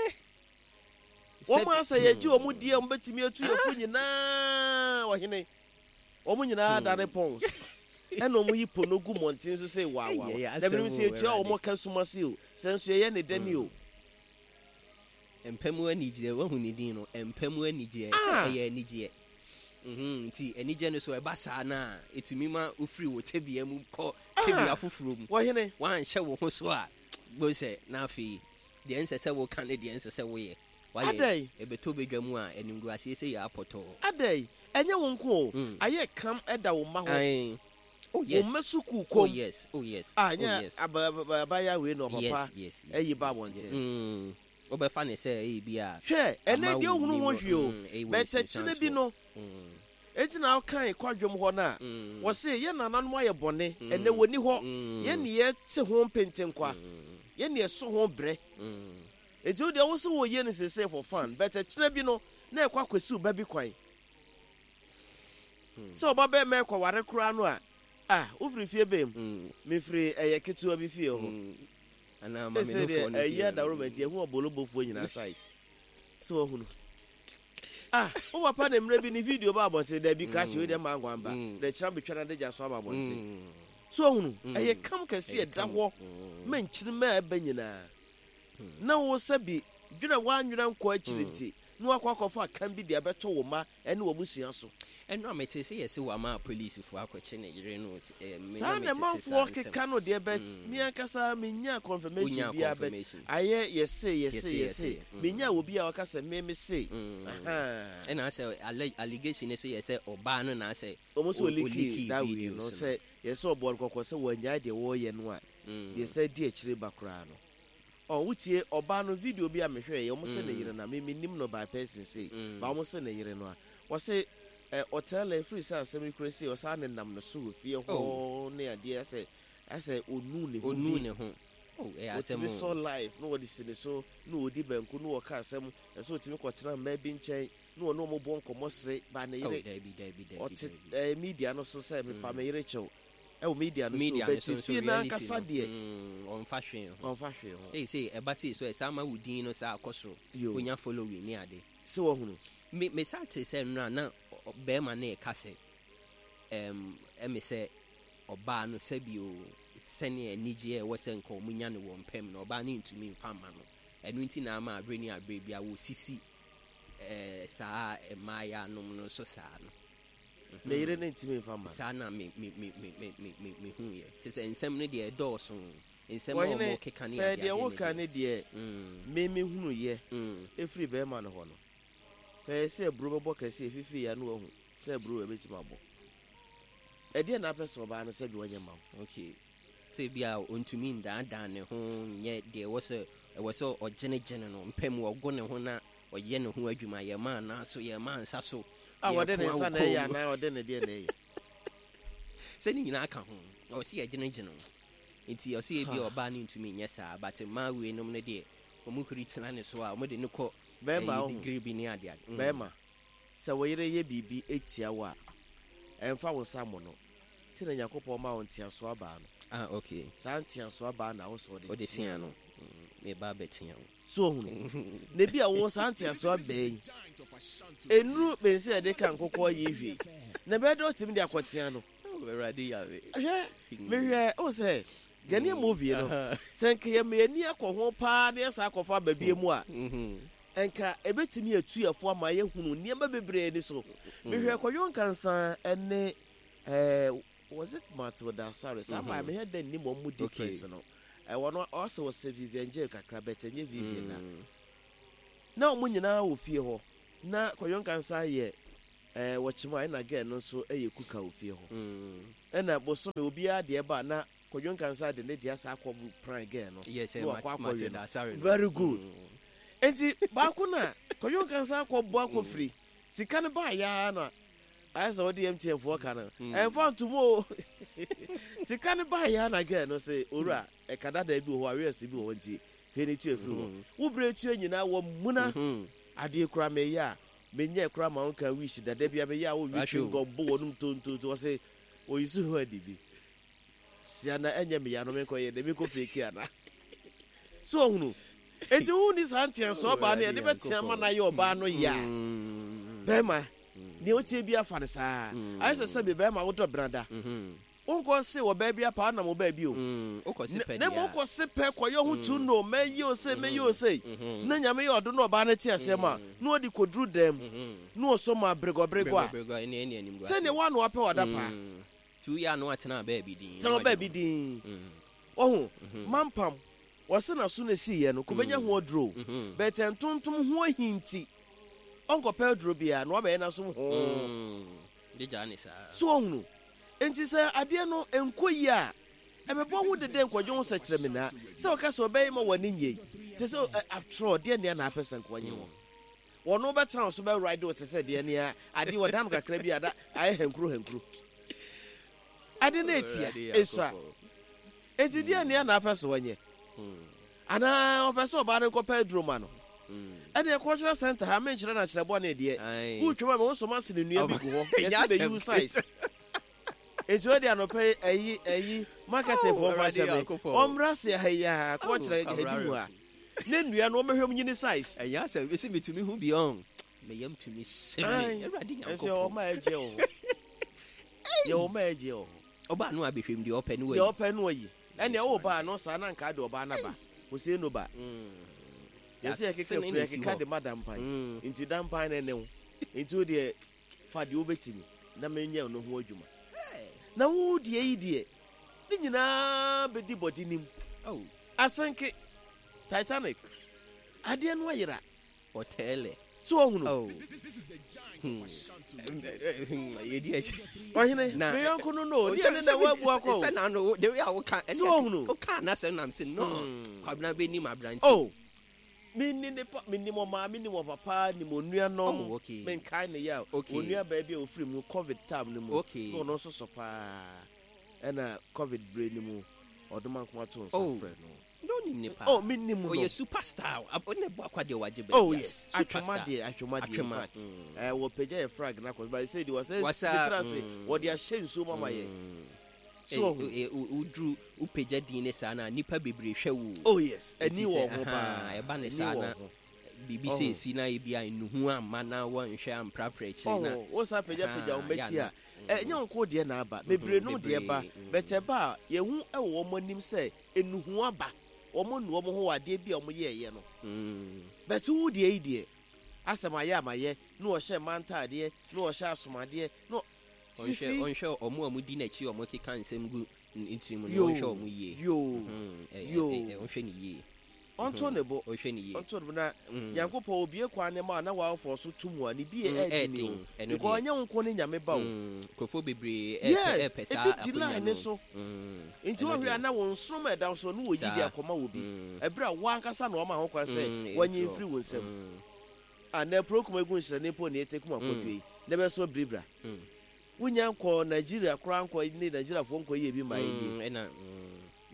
Wɔn Sɛ- asɛ yɛgye wɔn die a wɔbɛtumi atu yɛn fo nyinaa ɔhene. Wɔn nyinaa dane pɔns. Ɛna wɔn yi pono gu mmɔnten so sɛ waawa. Ɛyɛ Na menim asɛm sɛ o, yɛtua Awurade. wɔn ka sum ase o, sɛ nso yɛyɛ ne dɛn o. Mpa mu anigyeɛ, woahu ne din no? Mpa mu anigyeɛ, sɛ Ah! ɛyɛ anigyeɛ. Mhm, nti anigyeɛ no so ɛba saa no a, ɛtumi ma wofiri wo tebea mu kɔ tebea Ah! foforɔ mu. Wɔhene. Woanhyɛ wo ho so a, bohu sɛ na afei deɛ ɛnsɛ sɛ woka ne deɛ ɛnsɛ sɛ woyɛ, woayɛ. Adɛn? Ɛbɛtɔ badwa mu a, animguaseɛ sei yɛ apɔtɔɔ. Adɛn? Ɛnyɛ wo nko o, Mm. ayɛ kam da wo mma hɔ. Ae. Oh Wo yes. mma sukuu Oh kɔm. yes, oh yes, Ah, oh ɛnyɛ yes. aba aba abaayewa wei na Yes, ɔpapa yes, yes, ayi ba yes, yes. abɔnten. Mm. Wobɛfa no sɛ ebi a Hwɛ, ɛnnɛ ama deɛ wo wohunu ho nim hwee o, mm, ɛwɔ but ɛkyena bi nsunsuansoɔ. no, Mm. enti na wokan kwadwom hɔ no a, Mm. wɔse yɛn nananom ayɛ bɔne, ɛnnɛ Mm. wɔnni hɔ, Mm. yɛn ne yɛte ho mpentenkwa, Mm. yɛn ne yɛso ho brɛ. Mm. Enti wo deɛ wo se woyɛ no seesei for fun, but ɛkyena bi no, na ɛkɔ akɔsi wo ba bi kwan. Sɛ ɔba bɛrima ɛkɔware koraa no a, ah, wofiri fie bɛn mu? Mefiri ɛyɛ ketewa bi fie hɔ. Anaa ma me Sɛ deɛ nofoɔ no ɛyi fie. adaworo nti ɛho ɔbolobofoɔ nyinaa size. So wahunu. Ah, wo papa na mmerɛ bi ne video ba abɔnten, daabi krakye wei deɛ mma nkwa mba. Na ɛkyena bɛtwa no adagya so aba abɔnten. So wahunu, ɛyɛ kam kɛse ɛda hɔ ma nkyirimma a ɛba nyinaa. Na wo sɛbi dwene a woannwene ankɔ akyiri nti na woakɔ akɔfa kam bi de abɛto wo mma ne w'abusua so. Ɛno a metee sɛ yɛse wama apolisifo akɔkye ne yere no eh, me Saa na na metete saa manfoɔ nsɛm. keka no deɛ but me ankasa menyaa confirmation Wonyaa biara but confirmation. ayɛ yɛse yɛse Yɛse, yɛse yɛse, menyaa obi a ɔka sɛ me mese ahaa. Ɛna asɛ allegation no so yɛ sɛ ɔbaa no na asɛ Wɔn sɛ o ɔleakii ɔleakii that way no videos no. sɛ yɛsɛ ɔbɔɔ no kɔkɔ sɛ wannyae deɛ wɔreyɛ no a deɛ ɛsan di akyire ba koraa no. Ɔ wotie ɔbaa no video bi a mehwɛɛ yɛ ɔmo se ne yere no a me mennim no by person sei but ɔmo se ne yere no a ɔse ɛ ɔtɛl ɛfiri sɛ asɛm yi kora sei ɔsaa ne nam no so wɔ fie hɔ Oh. ne adeɛ asɛ asɛ ɔnu ne ho Ɔnu bi ne ho. Oh, ɛyɛ asɛm ɔtumi o. sɔ live na ɔde si ne so na ɔdi banku na ɔka asɛm ɛsɛ ɔtumi kɔtena mmaa bi nkyɛn na ɔne ɔmo bɔ nkɔmmɔ sere ba ne Oh, yere daabi, daabi, daabi, ɔte daabi. ɛɛ media no so sɛ mepa me yere kyɛw Ɛwɔ media no so Media but no so nso fie no reality ankasa no, deɛ. mm, ɔmfa hwee ho. Ɔmfa hwee ho. Ei sei ɛba sei so ɛsan ma wo din no saa kɔ soro. Yo. Wonya following ne ade. Sɛ wahunu. Me me san te sɛ nnora na bɛrima no reka sɛ ɛm ɛme sɛ ɔbaa no sɛbi o sɛnea anigyeɛ a ɛwɔ sɛ nka wɔn nya no wɔ mpam no ɔbaa no ntumi mfa mma no. Ɛno nti na ama abere ne abere biara wɔsisi ɛɛ saa mmaayaa nom no so saa no. Ne yere no ntumi mfa mma no. Saa na me me me me me me me mehuiɛ. Kyerɛ sɛ nsɛm no deɛ ɛdɔɔso. Nsɛm a Ɔhene, wɔkeka ne pɛɛ adeade deɛ no woka deɛ. ne deɛ me mehunuiɛ firi barima no hɔ no. Pɛɛ sɛ aburo bɛbɔ kɛse ɛfifiri a na wahu sɛ aburo ɛbɛtumi abɔ. Ɛdeɛn na apɛ sɛ ɔbaa no sɛ deɛ ɔnyɛ mma wo? Okay. Sɛ ebia ɔntumi ndaadaa ne ho nyɛ deɛ ɛwɔ sɛ ɛwɔ sɛ ɔgyenegyene no mpɛ mu, ɔgo ne ho na ɔyɛ ne ho adwuma, yɛma anan so, yɛma nsa so, A ɔde ne yɛko nsa na awokɔ ɛyɛ mu. anaa ɔde ne deɛ na ɛyɛ? Sɛ ne nyinaa ka ho, ɛwɔ sɛ yɛgyenegyene wo. Nti ɔsɛ ebia ɔbaa no ntumi nyɛ saa, but mmaa weinom no deɛ, wɔn huri tena ne so a, wɔde no kɔ Bɛrima ɛyi wohu, degree bi ne adeade. Bɛrima, sɛ wo yere yɛ biribi tia wo a, ɛmfa wo nsa mmɔ no. Nti na Nyankopɔn maa wo nteasoɔ abaa no. Ah, okay. Saa nteasoɔ abaa na wo sɛ ɔde Ɔde tea tea no. Me ba bɛtea wo. So ohunu? Na ebi a wo saa nteasoɔ abaa yi, nnuru bɛn sɛ yɛde ka nkokɔ yi hwee, na ɛbɛyɛ dɛ ɔtumi de akɔtea no. Oh, Awurade Yahweh. Hwɛ, mehwɛ, o sɛ Ghanaian movie no, sɛ nka yɛma yɛn ani akɔ ho paa na yɛsan akɔfa aba bio mu a, nka ebetumi atu yɛn fo ama yɛahunu nneɛma bebree ani so. Mehwɛ Kwadwo Nkansah ne Eh, was it Matilda Asare? Saa maa mehwɛ dɛ nnim wɔn mu difference no. Ɛwɔ no ɔsɛ ɔsɛ Vivian Jill kakra but ɛnyɛ Vivian na. Na wɔn nyinaa wɔ fie hɔ. Na Kwadwo Nkansah yɛ eh, wɔkyema ɛna girl no nso yɛ kuka wɔ fie hɔ. Ɛna bosome obiara deɛ ba na Kwadwo Nkansah de ne deɛ asa akɔ pran girl no. Yes, Na wakɔ akɔwe Matilda no. Asare no. Very good. Enti baako na Kwadwo Nkansah akɔ bɔ akɔ firi. Sika no baa yaa na Ayɛ sɛ wode MTN foɔ ka no ɛmfa ntom o Sika no baeɛ a na girl no se owura ɛka dadaa bi wɔ hɔ arrears bi wɔ hɔ nti hwɛ ne tua firi hɔ Wo berɛ tua nyinaa wɔ muna Adeɛ koraa meyɛ a menyɛɛ koraa ma wo nka wish da Da bia meyɛ a wo we chewing gum bo w'anom tontonto Ɔse oyi so ho adi bi Sia na ɛnyɛ me ya no menkɔ yɛ dɛ menkɔ fake ana So ɔhunu Enti wo ni saa nteasoɔ ɔbaa no yɛde bɛtea ma no ayɛ ɔbaa no ya Bɛrima Nea ɔteɛ biara fa no saa. Ayɛ sɛ sɛbe bɛrima wodɔ brada. Wonkɔ se wɔ baabi apa wonam wɔ baabi o. Wokɔ se pɛ Na deɛ mmom a. wokɔ se pɛ kɔyɛ ho tu no mɛyɛ o sei mɛyɛ o sei na Nyame yɛ ɔdom na ɔbaa no te aseɛ ma na ɔde kɔduru dan mu na ɔsɔ mu aberegɔberegɔ a Beregɔberegɔ ɛne ɛne animguaseɛ. Sɛdeɛ woa na wapɛ w'adapaa. Tu yɛ a na watena baabi dinn na Tena wadwene baabi ho. dinn. Wahu? Mampam, wɔse n'aso na esiiɛ no, kɔbɛnya ho aduro o, but ntontom ho ahi nti, ɔnkɔpɛ aduro biara na wabɛyɛ n'asom hoo. De gyaa ne saa. So wahunu? Enti sɛ adeɛ no nkɔ yie a, ɛbɛbɔ ho dede nkɔdwe ho sɛkyerɛmina. Sɛ wɔka sɛ ɔbɛyɛ ma w'ani nnye, te sɛ after all, deɛ nea na apɛ sɛ nka ɔnye wo. Wɔno bɛtena wo so bɛ ride wo te sɛ deɛ nea adeɛ wɔda no kakra bi a na ayɛ hankuro hankuro. Ade no etia, esua. Enti deɛ nea na apɛ sɛ ɔnyɛ. Anaa ɔpɛ sɛ ɔbaa no nkɔpɛ aduro ma no. Ɛdeɛ cultural center ha menkyerɛ no akyerɛ bɔne deɛ. Wotwam a mehu sɛ ɔmasene nnua bi gu hɔ. Yɛse bɛyi wo size. Enti ɔde anɔpa yi ayi ayi marketing foɔ mfa nhyɛ me. Ɔmmra se ha yi a cultural ha di mu ha. Ne nnua no ɔmmɛhwɛ mu nyini size. Ɛnyɛ asɛm mese metumi hu bi ɔn. Me yam tumi hye me. Awurade Nyankopɔn. Ɛnso yɛwɔ ɔma ɛgyeɛ wɔ hɔ. Yɛwɔ ɔma ɛgyeɛ wɔ hɔ. Ɔbaa no abɛhwɛ mu deɛ ɔpɛ no wayi. Deɛ ɔpɛ no wayi. Ɛnneɛ wo ba no saa na nka de ɔbaa no aba. Hosea no ba. Yɛsɛ yɛkeka firi yɛkeka de ma dampan. Nti dampan no ne wo. Nti wo deɛ fa deɛ wobɛtumi na menyɛ no ho adwuma. Na wo deɛ yi deɛ ne nyinaa bɛdi bɔde nim. Asenke Titanic adeɛ no ayera. Ɔtɛɛlɛ. So wahunu? Oh. Hmm. Yɛdi akyi. Ɔhene, me yɔnko no no, deɛ ne na wabu akɔ o. Sɛ na no, the way a woka, So wahunu? woka n'asɛm nam sɛ no, Kwabena bɛnim aberante. Oh, menni ne pa, menim ɔmaa, menim ɔpapa, nim onuanom. Oh, okay. Menkae ne yɛ a, Okay. onua baa bi a ofiri mu COVID time no mu. Okay. Na ɔno nso so paa. Ɛna COVID bere no mu, ɔdoma nkoma to nsa Oh. frɛ no. Na onim ne paa. Oh, mennim no. Ɔyɛ superstar. Ɔne bɔ akwa deɛ wagye baabi Oh a. yes, Superstar. atwoma deɛ, atwoma deɛ, in Atwoma, fact. Wɔpagya yɛ flag no akɔ, but sɛ deɛ wɔsɛ Wasa, tena ase, wɔde ahyɛ nsuo mu ama yɛn. So ɔhu. Woduru, wopagya din ne saa na nipa bebree hwɛ wo. Oh yes, Nti ani sɛ, wɔ ho aha, paa. ɛba ne Ani saa wɔ na ho. biribi sɛ esi na ebi a nnuhu amma na wɔnhwɛ amprapra akyire na. Ɔho, wo san pagyapagya wo Aha, mmati yɛ a, ana. ɛnyɛ wo nko deɛ na aba, bebree nom deɛ ba, Bebree, but ɛba a, yɛhu wɔ wɔn anim sɛ nnuhu aba, wɔn nu wɔn ho wɔ adeɛ bi a wɔn yɛɛyɛ no. But wo deɛ yi deɛ, asɛm ayɛ ama yɛ, na ɔhyɛ mmaa ntaadeɛ, na ɔhyɛ asomadeɛ, na you Ɔnhwɛ, see? ɔnhwɛ wɔn a wɔdi n'akyi a wɔkeka nsɛm gu ne tirim no, Yoo, ɔnhwɛ wɔn yie. yoo, yoo. Ɔnhwɛ ne yie. Ɔnto ne bo. Ɔnhwɛ ne yie. Ɔnto ne bo na Nyankopɔn obue kwan ne ma na w'awofoɔ so to mu a ne bie ɛɛden Ɛɛden, o. ɛno Because deɛ. ɔnyɛ wo nko ne Nyame ba o. Nkurɔfoɔ bebree Yes, ɛɛpɛ saa ebi di akonya line no. ne so. Nti Ɛno wohwɛ a deɛ. na wo nsoromma a ɛda wo so no wɔyi de Saa. akɔma wo bi. Ɛberɛ a wo ankasa na wama ho kwan sɛ wɔnye ɛmfiri hɔ. mfiri wo nsam. Ah, na apuro kuma egu nhyerɛne mpo na ete kuma kɔdua yi, na ɛbɛso biribira. Wonya nkɔ Nigeria koraa nkɔ ne Nigeriafoɔ nkɔ yie bi ma yɛ nie. Ɛna,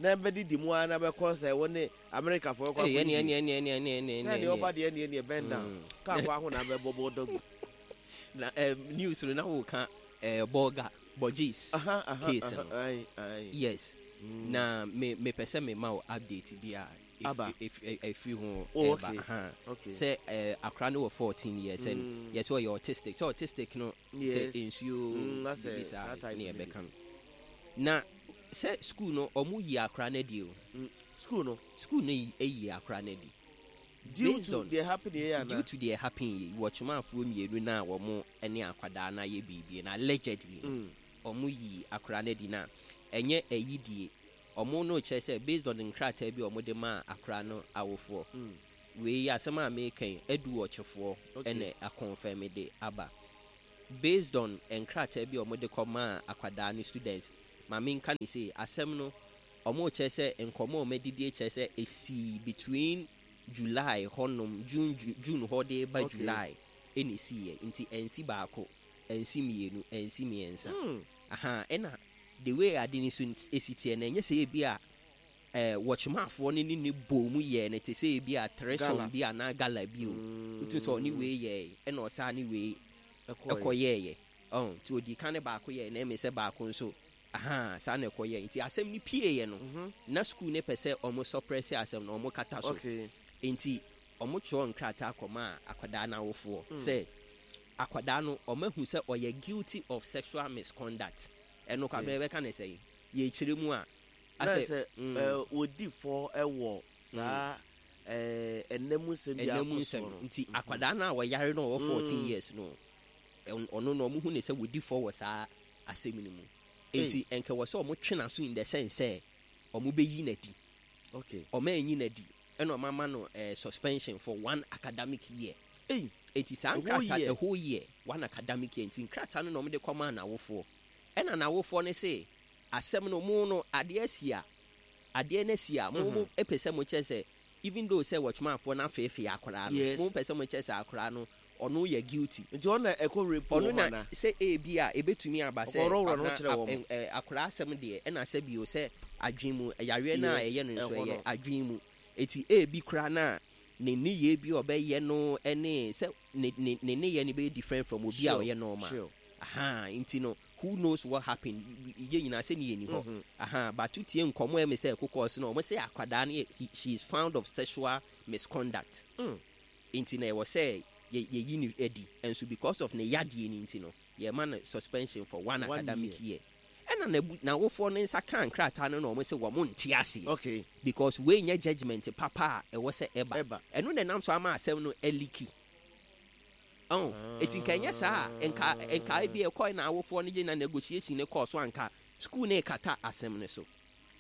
Na bɛdidi mu ara na bɛkɔ sɛ wo ne Amerikafoɔ kɔ Ei, akɔdidi. ɛne, ɛne, ɛne, ɛne, ɛne, Sɛ ɛne, deɛ ɛne. ɔba deɛ ɛne, ɛne, bend down. Kaa kɔ aho na bɛbɔ bɔ dɔg. Na, news no na woka, Bolga, Borges Aha, aha, case aha, no. aye, aye. Yes. Na me mepɛ sɛ mema wo update bi a Aba. ɛfiri ho Oh, ɛba. okay. Aha. Okay. Sɛ, akora no wɔ 14 years and yɛ sɛ ɔyɛ autistic. Sɛ autistic no, sɛ nsuo Asɛ biribi saa saa type ne no bi. ɛbɛka no. Na sɛ school no ɔmo yi akora no adi o. School no? School no yi akora no adi. Due Based to on deɛ happen yɛ ana? Due to deɛ happen yi, wɔkyemanfoɔ mmienu na wɔn ne akwadaa no ayɛ biribi na allegedly no, ɔmo yi akora no adi na ɛnyɛ ɛyi die. Ɔmo no kyerɛ sɛ based on nkrataa bi a ɔmo de maa akora no awofoɔ. Wei asɛm a meka yi, adu ɔkyefoɔ ɛna akɔnfɛm de aba. Based on nkrataa bi a ɔmo de kɔ maa akwadaa no students, ma menka ne sei, asɛm no ɔmo kyerɛ sɛ nkɔmɔ a ɔmo adidi kyerɛ sɛ esi between July hɔnom, June, June hɔ de ba July ɛna esiiɛ. Nti ɛnsi baako, ɛnsi mmienu, ɛnsi mmiɛnsa. Aha, ɛna the way ade no so esi teɛ no, ɛnyɛ sɛ ebi a wɔkyemafoɔ no ne ne bɔ mu yɛɛ no te sɛ ebi a threesome Gala. bi anaa gala bi o. Wotu sɛ ɔne wei yɛɛ, ɛna ɔsaa ne wei Ɛkɔɔyɛ. ɛkɔyɛɛyɛ. Ɔn, nti odi kan ne baako yɛɛ, na ɛmɛ sɛ baako nso, aha, saa na ɛkɔyɛɛ. Nti asɛm no pieeɛ no, na school ne pɛ sɛ ɔmo suppress asɛm no, ɔmo kata so. Nti ɔmo twerɛ nkrataa kɔmaa akwadaa n'awofoɔ sɛ akwadaa no ɔmo ahu sɛ ɔyɛ guilty of sexual misconduct. Ɛno Kwabena yɛbɛka no sɛn? Yɛkyerɛ mu a, Na asɛ sɛ mm. wɔdi fɔ wɔ saa ɛnna mu nsɛm bi a Ɛnna mu akɔ nsɛm soɔ no. nti akwadaa no a ɔyare no a ɔwɔ 14 years no, ɔno no ɔmo hu ne sɛ wɔdi fɔ wɔ saa asɛm no mu. Nti ɛnka wɔ sɛ ɔmo twe n'aso in the sense sɛ ɔmo bɛyi n'adi. Ɔmo anyi n'adi ɛna ɔmo ama no suspension for one academic year. Ei, Eti saa a whole nkrataa year. A whole year, one academic year. Nti nkrataa no na ɔmo de kɔmaa n'awofoɔ. Ɛna n'awofoɔ no se asɛm no mo no adeɛ asi a adeɛ no asi a mo mo pɛ sɛ mo kyerɛ sɛ even though sɛ wɔtwemafoɔ no afeefee akwaraa no, mo pɛ sɛ mo kyerɛ sɛ akwaraa no ɔno yɛ guilty. Nti ɔno na ɛkɔ rape Ɔno wɔn na anaa? sɛ ebi a ebetumi aba sɛ Ɔkɔworɔworɔ ne ho Kwabena kyerɛ wɔn. akwaraa asɛm deɛ ɛna sɛ bio sɛ adwene mu yareɛ no a ɛyɛ no nso Ɛhɔ ɛyɛ no. adwene mu. Eti ebi koraa na ne nneyɛɛ bi a ɔbɛyɛ no ɛne sɛ ne ne ne nneyɛɛ no bɛyɛ different from obi a ɔyɛ normal. Ahaa nti no who knows what happened, yɛn nyinaa sɛ ne yɛnni hɔ. Ahaa but wotie nkɔmmɔ a ɛme sɛ ɛkokɔɔ so no, wɔn sɛ akwadaa no yɛ he she is found of sexual misconduct. Nti na ɛwɔ sɛ yɛ yɛyi no adi. Nso because of ne yadeɛ no nti no yɛma no suspension for one One academic year. year. Ɛna n'abu n'awofoɔ no nsa kaa nkrataa no na wɔn sɛ wɔn nte aseɛ. Because wei nyɛ judgement papa a ɛwɔ sɛ ɛba. Ɛba. Ɛno na ɛnam so ama asɛm no aliki. Ɔn, eti nka ɛnyɛ saa a, nka nka ebi ɛkɔe na awofoɔ no gye na negotiation no kɔɔ so a nka school no rekata asɛm no so.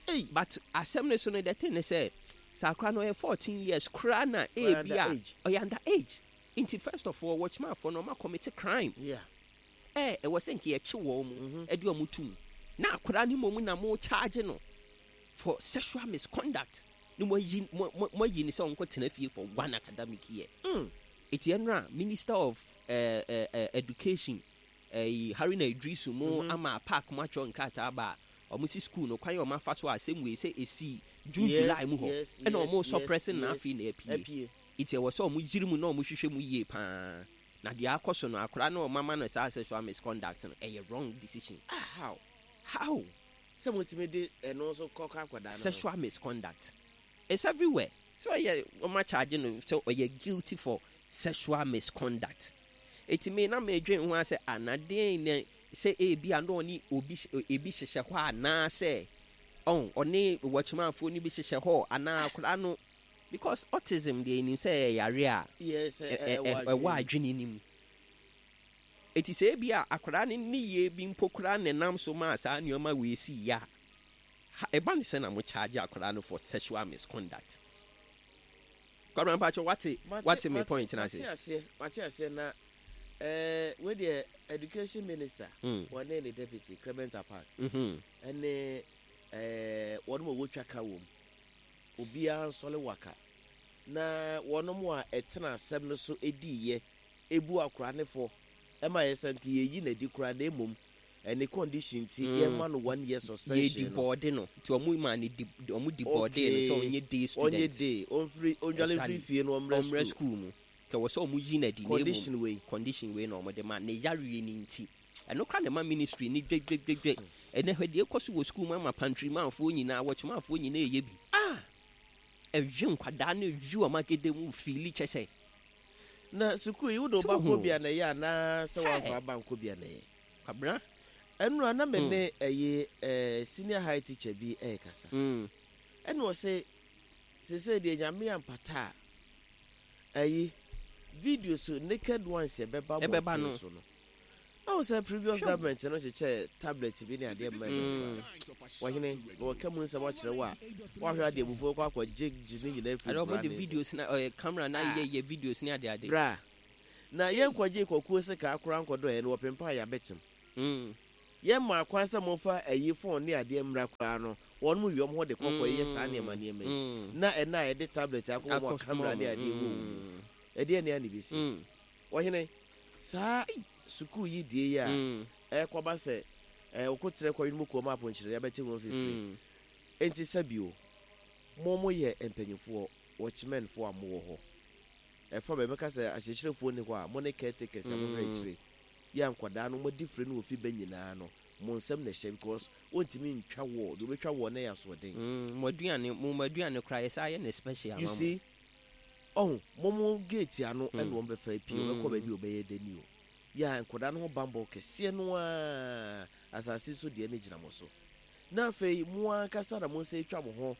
Ei! But asɛm no so no the thing ne sɛ, sɛ akora no ɔyɛ 14 years koraa na Ɔyɛ ebi a under age. ɔyɛ under age. Nti first of all wɔkyimafoɔ no wɔn commit crime. Ɛ ɛwɔ sɛ nka yɛkye wɔn mu ɛde wɔn tum. Na akora no mmom na mo charge no for sexual misconduct. Ne mo ayi mo mo mo ayi no sɛ ɔnkɔ tena fie for one academic year. Eti ɛnora Minister of eh, eh, eh, Education eh, Haruna Iddrisu mo ama park mo atwerɛ nkrataa aba a wɔn si school no kwan a wɔn afa so a asɛm wei sɛ esi June July mu hɔ ɛna wɔn suppress no na afei na apue. Eti ɛwɔ sɛ wɔn yiri mu na wɔn hwehwɛ mu yie paa. Na deɛ akɔ so no akwadaa no a wɔn ama no saa sexual misconduct no ɛyɛ wrong decision. Ah, how? How? Sɛ mo tumi de ɛno nso kɔ kɔ akwadaa no ho. Sexual misconduct. It's everywhere. Sɛ ɔyɛ wɔn akyagye no sɛ ɔyɛ guilty for sexual misconduct. Eti me na medwen ho asɛ ah na deɛn na sɛ ebi a na ɔne obi ebi hyehyɛ hɔ anaasɛ ɔn ɔne wɔkyemanfoɔ no bi hyehyɛ hɔ anaa akwadaa no because autism deɛ yɛnim sɛ ɛyɛ yare a Yes, ɛwɔ adwene no mu. Eti sɛ ebi a akwadaa no nneyɛɛ bi mpo koraa na ɛnam so maa saa nneɛma wei sii yɛ a, ha ɛba ne sɛ na mo charge akwadaa no for sexual misconduct. Kwabena mpakyɛ wate wate me point no ase? Mate aseɛ, mate aseɛ na eh, wei deɛ education minister wɔne ne deputy Clement Apaak ɛne eh, wɔn a wɔtwa ka wɔm obiara nsɔle waka na wɔn a ɛtena asɛm no so ediiɛ ebu akora ne fɔ ɛma yɛ sɛ nka yɛyi n'adi koraa na emom ɛne condition ti yɛma no one year suspension. Yɛ deport no nti ɔmo ma ne di ɔmo deport no sɛ ɔnyɛ day student. Ɔnyɛ day ɔnfiri ɔndwale nfiri fie no ɔmrɛ school. Ɔmrɛ school mu kɛ wɔ sɛ ɔmo yi n'adi na emu condition wei condition wei na ɔmo de ma ne yareɛ ne nti ɛno kora na ɛma ministry ne dwedwedwedwe ɛnɛ hwɛ deɛ ɛkɔ so wɔ school mu ama pantry manfoɔ nyinaa wɔkyemanfoɔ nyinaa ɛyɛ bi. Ah! Ɛhwe nkwadaa no ɛhwi wɔn agede mu fiili kyɛ sɛ. Na sukuu yi wode wo ba kɔ bi a na ɛyɛ anaa sɛ woamfa aba nkɔ bi a na ɛyɛ? Kwabena. Ɛnora na me ne ɛyi eh, senior high teacher bi ɛrekasa. Ɛna ɔse seesei deɛ Nyame ampata a ɛyi videos naked ones ɛbɛba mmɔnten so no. Ahu sɛ previous government no kyekyɛɛ tablet bi ne adeɛ mma ɛno koraa. Ɔhene, na wɔka mu nsɛm akyerɛ wo a, woahwɛ adeɛ abufuo kɔ akɔ gye gye ne nyinaa firi Ade nkwadaa wɔde ne nsam. videos na ɔyɛ camera na Ah. yɛ yɛ videos ne ade ade. Bra, na yɛnkɔgye kɔkuo sekaa koraa nkɔdɔɛ no wɔpempaa yɛ abɛtem. Yɛn maa kwan sɛ momfa ayi phone ne adeɛ mmra koraa no, wɔnom wie wɔn ho de kɔ kɔ yɛ saa nneɛma nneɛma yi. Na ɛnnɛ a yɛde tablet akɔ wɔn a camera ne adeɛ wɔ wɔn mu. Ɛdeɛn ne a na ɛbɛsi? Ɔhene, saa sukuu yi die yi a ɛrekɔba sɛ ɔkoterɛ kɔwene mu kuo ma aponkyerɛ abɛte ho mfifire. Enti sɛ bio, mo mo yɛ mpanyinfoɔ, watchmen foɔ a mowɔ hɔ. Ɛfa baabi mɛka sɛ akyerɛkyerɛfoɔ nni hɔ a, mo ne caretakers a mohwɛ akyire yi a nkwadaa no moadi fire no wɔ fi bɛ nyinaa no, mo nsam na ɛhyɛ because wontumi ntwa wall, deɛ ɔbɛtwa wall no yɛ asoɔden. Mo aduane, mo mo aduane koraa yɛsan yɛ no special ama You mo. see, ɔho, mo mo gate ano ɛna wɔn bɛfa apue, wɔbɛkɔ baabi a wɔbɛyɛ dɛ ni o. Yɛ a nkwadaa no ho bammɔ kɛseɛ no ara asase so deɛ no gyina mo so. Na afei mo ankasa na mo nsa atwa mo ho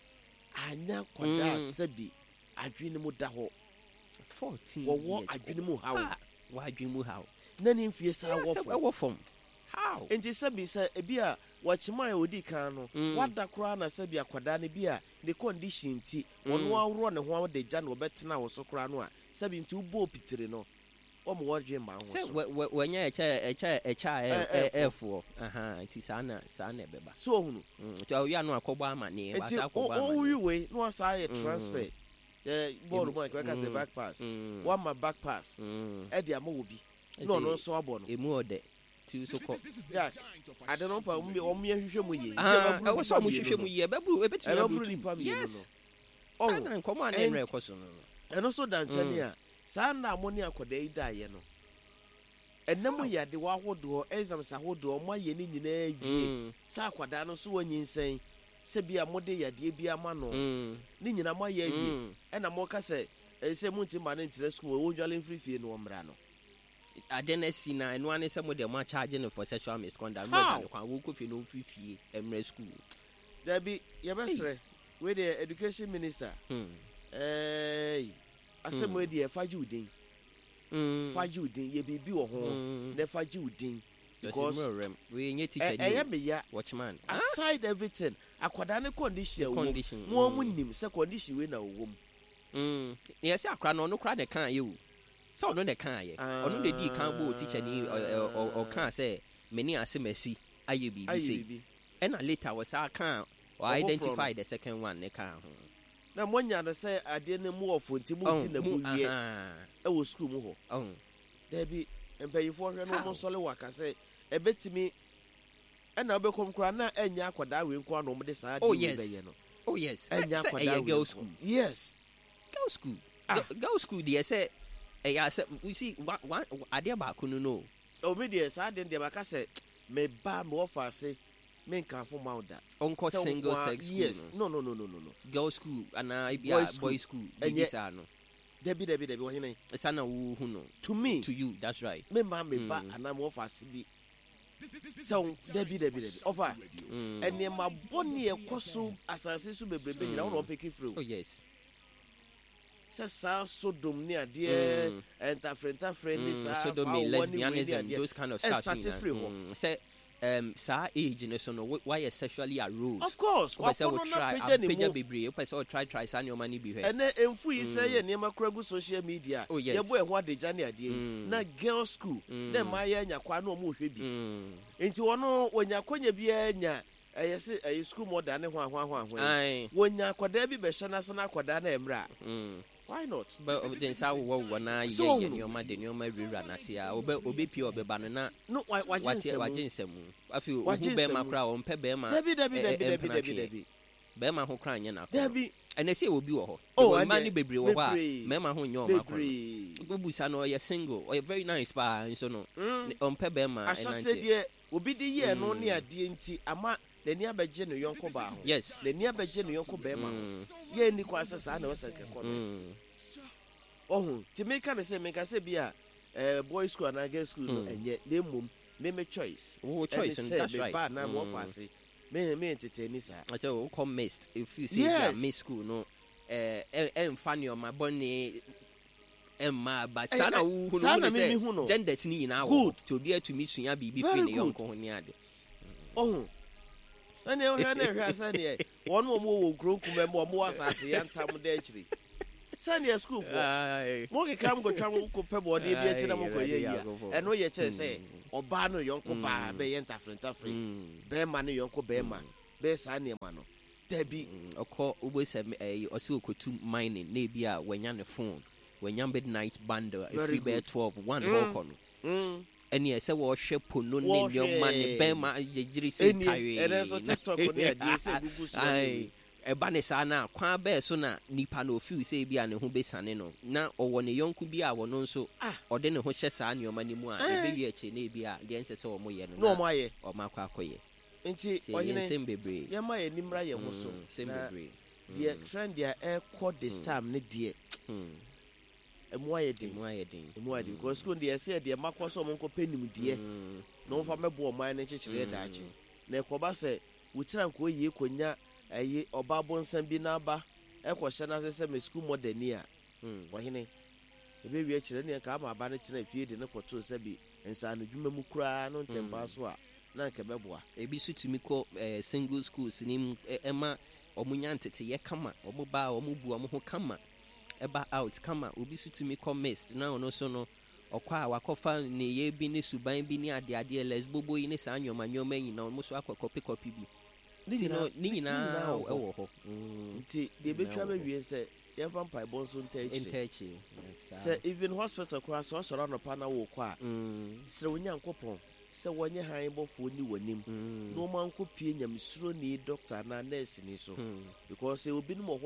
anyɛ akwadaa a sɛbi adwene mu da hɔ. 14 Wɔwɔ years adwene mu haw. Ah, wɔ adwene mu haw. Na ne mfie saa Yeah, wɔ sɛ fam. ɛwɔ fam. How? Nti sɛbi sɛ ebi a wɔkyema a odi kan no, wada koraa na sɛbi akwadaa no bi a ne condition nti, ɔno aworɔ ne ho de gya na ɔbɛtena wo so koraa no a, sɛbi nti wobɔɔ pitiri no, wɔn wɔdwe mma ho Sɛ so. wɔnyɛ ɛkyɛ ɛkyɛ ɛkyɛ a Ɛ- ɛɛfoɔ. ɛɛfoɔ. Aha, nti saa na ɛbɛba. So ohunu. Nti ɔyɛ ano akɔbɔ amaneɛ. Nti Wasa akɔbɔ wowi amaneɛ. wei na wasa ayɛ transfer. Yɛ bɔɔlo mu a nkɛka sɛ back pass. Wama back pass ɛde ama wɔ bi. Na ɔno nso abɔ no. Emu ɔdɛ. Ti so kɔ. Jack, ade no mpa wɔn yɛ hwehwɛ mu yie. Ah, ɛwɔ sɛ ɔmo hwehwɛ mu yie. Ɛbɛburu ebetumi Ɛbɛburu aburu tu. nipa mmienu Yes. no. Saa na nkɔmɔ a na ɛnura ɛkɔ so no. Ɛno nso da nkyɛn a saa nna a mo ne akwadaa yi daeɛ no, ɛnam yɛ adewa ahodoɔ, exams ahodoɔ, ɔmo ayɛ ne nyinaa wie. Saa akwadaa no nso wɔnyinsɛn sɛ bi a mode yadeɛ bi ama no, ne nyinaa mo ayɛ awie. Ɛna mo ka sɛ ɛyɛ sɛ mo nti ma ne nkyerɛ sukuu, wɔn dwale mfiri fie no wɔmmra no. Ade no asi na ɛno ane sɛ mo deɛ mo akyagye no for sexual misconduct. Mo How? agya no kwan wɔkɔ fie no ɔmfiri fie mmerɛ school. Dabi, yɛbɛsrɛ wei deɛ education minister. Ɛɛi asɛm wei deɛ fa gye wo din. Fa gye wo din, yɛ biribi wɔ ho na fa gye wo din. Because wei nye teacher ni ɛyɛ me ya. Watchman. Aside everything, akwadaa ne condition a wɔm Condition, mo a mo nim sɛ condition wei na wɔwɔ mu. Na yɛsɛ akora no, ɔno kora na ɛka ayɛ o. Sɛ ɔno na ɛka ayɛ. Ɔno na edi kan bɔ teacher ni ɔka sɛ me ne asɛm asi ayɛ biribi Ayɛ sei. biribi. Ɛna later wɔsa ka ɔ Ɔfoforɔ identify no. the second one ne ka ho. Na moanya no sɛ adeɛ no mu ɔfo nti mo di na mu mo wie aha. ɛwɔ sukuu mu hɔ. Dabi, mpanyinfoɔ hwɛ no How? wɔn nsɔle wɔ aka sɛ ɛbɛtumi ɛna wobɛkɔm koraa na ɛnyɛ akwadaa wei nko ara na wɔn de saa adeɛ Oh wei yes. bɛyɛ no. Oh yes. Ɛnyɛ Sɛ akwadaa ɛyɛ wei girl nko. school. Yes. Girl school. Ah. Girl school deɛ sɛ ɛyɛ asɛ you see one adeɛ baako no. Omi deɛ saa adeɛ no deɛ maka sɛ me ba me wɔ fa ase me nkanfo ma wo da. Ɔnkɔ Sɛ single sex school yes. no. No. Girl school anaa ebi Boy a school. boy school. Ɛnyɛ. Bibi saa no. Dabi, ɔhene. Saa na wo hu no. To me. To you, that's right. Me ma me ba anaa me wɔ fa ase bi. Sɛ wo dabi ɔfa nneɛma bɔne ɛkɔ so asase so bebrebe nyinaa wɔn na wɔpeke firi Oh o. yes. Sɛ saa Sodom ne adeɛ ntafere ntafere ne saa Sodomy, fa wɔ ne wei ne lesbianism, adeɛ those kind of stuff. ɛsate nyinaa. firi hɔ. Sɛ saa age no so no wayɛ sexually aroused. Of course, Wopɛ sɛ wakɔnɔ wo na try apagya ne apagya mu. bebree. Wopɛ sɛ wo try try saa nneɛma no bi hwɛ. Ɛnɛ mfu yi sɛ yɛ nneɛma kora gu social media. Oh, yes. Yɛbɔ ɛho adagya ne adeɛ yi. Na girl school na mmaa yɛ anya kwa na ɔmo hwɛ bi. Nti wɔn wɔnya akɔnya biara nya ɛyɛ sɛ ɛyɛ school mother ne ho ahoa ahoa ahoa yi. Wɔnya akwadaa bi bɛhyɛ n'ase na akwadaa na ɛmmerɛ a. Why not? Bɛ ɔde nsa wowɔ wowɔ na Sɛ yɛ yɛ ohunu. nneɛma de nneɛma wurawura n'ase a ɔbɛ ɔbɛpie ɔbɛba no na No, wagye wate nsɛm. wagye nsɛm. Afei ohu Wagye bɛrima nsɛm. koraa ɔmpɛ bɛrima. Dabi dabi dabi dabi mpena dabi tweɛ. dabi. Bɛrima ho koraa nyɛ n'akɔnɔ. Dabi. Ɛnɛ sɛ obi wɔ hɔ. Oh, Ɛwɔ mmaa ɛnɛ, no bebree wɔ hɔ a bebree. mmarima ho nyɛ ɔmo akɔnɔ. Bebree. Wobusa no, ɔyɛ single, ɔyɛ very nice paa nso no ɔmpɛ bɛrima Ahyɛse ɛnante. deɛ obi de yɛɛ no ne adeɛ nti ama n'ani abɛgye ne yɔnko baa ho. N'ani abɛgye ne yɔnko bɛrima ho. Yɛn ni kwan sɛ saa na ɛwɔ sɛ nkɛkɔ no. Ɔho nti meka ne sɛ meka sɛ bi a boy school anaa girl school no ɛnyɛ na mmom me choice. Wo choice no, ɛne sɛ that's me right. ba anaa me wɔfa ase me ntete ni saa. Ɔkyɛ wokɔ mixed if you say yes. Mixed school no ɛmfa nneɛma bɔne ɛmma, but saa na wohu no saa na wohu me ne mehu no. sɛ genders ne nyinaa wɔ hɔ Good. nti obi atumi sua biribi Very firi ne good. yɔnko ho ne ade. Ɔho ɛne ɔhwɛ na ɛhwɛ sɛneɛ wɔn a wɔwɔ wɔ nkuro nkuma mu a wɔwɔ asase yɛntam da akyiri sɛneɛ sukuufoɔ mo keka mo kɔtwa mo kɔpɛ bɔɔdeɛ bi akyi na mo kɔyɛ yi a ɛno yɛ kyerɛ sɛ ɔbaa no yɔnko baa bɛyɛ ntafere ntafere, bɛrima no yɔnko bɛrima bɛyɛ saa nneɛma no, dabi. Ɔkɔ wobɛ sɛ ɛyi ɔsɛ ɔkɔtu mining na ebi a wanya ne phone, wanya midnight bundle Very ɛfiri bɛyɛ good. 12 1 hɔ kɔ no ɛneɛ sɛ wɔhwɛ pono ne Wɔhwɛ. nneɛma ne bɛrima gyegyere sɛ Ɛnie, tawee. ɛnɛ nso TikTok ne adeɛ sɛ gugu so Aye. Ɛba ne saa na kwan bɛɛ so na nipa no ofeel sɛ ebi a ne ho bɛsane no na ɔwɔ ne yɔnko bi a wɔno nso Ah. ɔde ne ho hyɛ saa nneɛma no mu a Eh. ɛbɛwie akyire na ebi a deɛ nsɛ sɛ ɔmo yɛ no na ɔmo ayɛ. Ɔmo akɔ akɔyɛ. Nti nti ɛyɛ ɔhene nsɛm bebree. Yɛma yɛn nimra yɛn ho so Nsɛm na bebree. deɛ trend a ɛkɔ this time ne deɛ Ɛmu ayɛ den. Ɛmu ayɛ den. Ɛmu ayɛ den because school deɛ ɛsɛ yɛde ɛma kɔ sɛ wɔn nkɔpɛ nimdeɛ na wɔmfa mmɛboa ɔman no nkyekyereɛ daakye. Na ɛkɔba sɛ wo tiri ankɔ yie kɔnya ɛyi ɔba abonsam bi n'aba ɛkɔhyɛ n'ase sɛ me school mɔdani a, ɔhene, ɛbɛwie akyire ɛneɛ nka ama aba no tena fie de no kɔtoo sɛbi nsaanodwuma mu koraa no ntɛmpaa so a na anka ɛbɛboa. Ebi nso tumi kɔ single schools no mu ɛma wɔn nya nteteyɛ kama, wɔn ba a wɔn bu wɔn ho kama. Ɛba out kama. Obi nso tumi kɔ mixed na ɔno nso no ɔkɔ a wakɔfa nneyɛɛ bi ne suban bi ne adeadeɛ, lesbobo yi ne saa nnoɔma nnoɔma yi nyinaa ɔmo nso akɔ kɔpe kɔpe bi. Ne Nti no nyinaa ne ne nyinaa nyinaa wɔ hɔ. wɔ hɔ. Nti deɛ Ne nyinaa ɛbɛtwa wɔ hɔ. bɛwie sɛ yɛmfa mpaebɔ nso ntaa akyire. Ntaa akyire, saa. Sɛ even hospital koraa sɛ ɔsɔre anɔpa na wokɔ a, srɛ Onyankopɔn sɛ wɔnyɛ hann bɔfoɔ nni w'anim na wɔn ankɔpue nyamesuroni doctor anaa nurse ni so because sɛ obinom wɔ hɔ.